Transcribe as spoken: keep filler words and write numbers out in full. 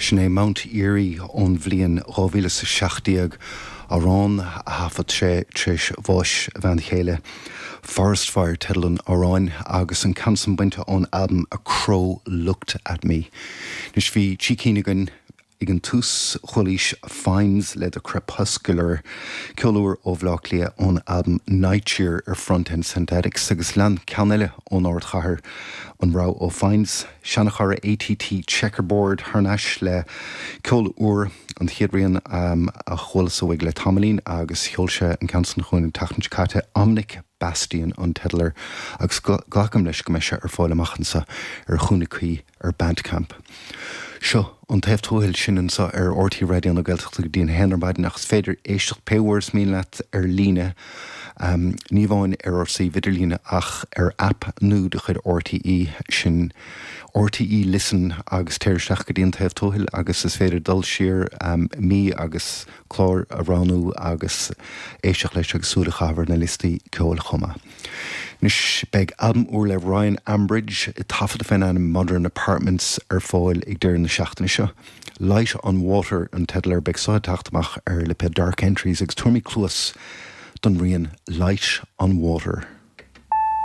Sin é Mount Eerie ón bhliain dhá mhíle is a seacht déag, amhrán a thaifead sé tar éis bháis a bhean chéile. Forest Fire teideal an amhráin agus an ceann san bainte ón albam A Crow Looked At Me. Anois bhí trí cinn againn ag an tús, chualaís Finds le The Crepuscular, ceol úr ó Bhaile Átha Cliath ón albam Nightcheer ar Front End Synthetics agus lean ceann eile ón ardchathair, an rogha ó Finds, seanchara ATT Checkerboard thar n-ais le ceol úr, an chéad rian a chualas uaidh le tamaillín agus sheol sé an ceann san chugainn an tseachtain seo caite, Omnic Bastion an teideal air agus glacaim leis go mbeidh sé ar fáil amach anseo ar a chúnamh cuí ar Bandcamp. Seo an taobh tuathail sin anseo ar RTÉ Raidió na Gaeltachta go dtí an haon ar maidin ach is féidir éisteacht pé uair is mian leat ar líne, ní amháin ar ár suíomh idirlíne ach ar aip nua de chuid RTÉ, sin RTÉ Listen agus téir isteach go dtí an taobh tuathail agus is féidir dul siar mí agus clár a roghnú agus éisteacht leis agus súil a chaitheamh ar na liostaí ceoil chomh maith. Anois beidh albam úr le Ryan Ambridge, taifeadta fén ainm Modern Apartments, ar fáil ag deireadh na seachtaine seo. Light on Water an teideal air, beidh so ag teacht amach ar lipéad Dark Entries agus tabharfaimid cluas don rian Light on Water.